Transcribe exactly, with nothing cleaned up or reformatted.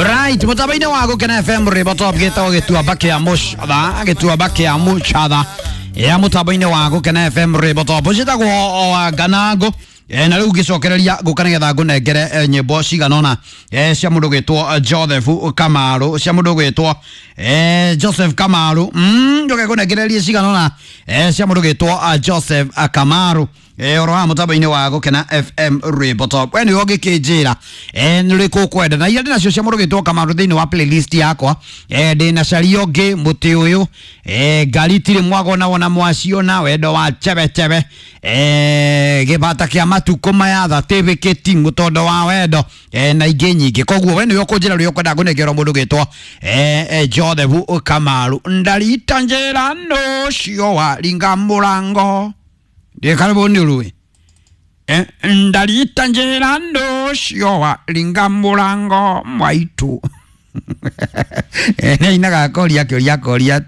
Right, mũtambo-inĩ wa Gũkena F M rwĩmbo top gĩtagwo gĩtuamba kĩa mũcatha, gĩtuamba kĩa mũcatha ya mũtambo-inĩ wa Gũkena F M rwĩmbo top ciĩtagwo o Nganangũ. E, na rĩu ngĩcokereria ngũka nĩgetha ngũnengere e, nyĩmbo cigana ũna e, cia mũndũ gwĩtwo Joseph Kamaru, cia mũndũ gwĩtwo e, Joseph Kamaru. mm, njoke ngũnengererie cigana ũna e, cia mũndũ gwĩtwo Joseph Kamaru e, oro wa mũtambo-inĩ wa Gũkena F M rwĩmbo top. We nĩwe ũngĩkĩnjĩra e, nĩ ũrĩkũ ũkwenda na iria ndĩnacio cia mũndũ gwĩtwo Kamaru thĩinĩ wa playlist yakwa. e, ndĩna caria ũngĩ mũtĩ ũyũ, e, ngari itirĩ mwagona wona mwaciona wendo wa chebechebe, e, gĩbata kĩa matukũ maya thatĩbĩkĩti mũtondo wa wendo, e, na ingĩ nyingĩ. Koguo we nĩwe ũkũnjĩra ũrĩa ũkwenda ngũnengerwo mũndũ gwĩtwo e, e, Joseph Kamaru. Ndarita njĩra nũcio waringa mũrango ndä nä å rå ä ndarita njä ra ndå cio waringa må rango mwaitå nä ainaga akoria kä å ria akoria.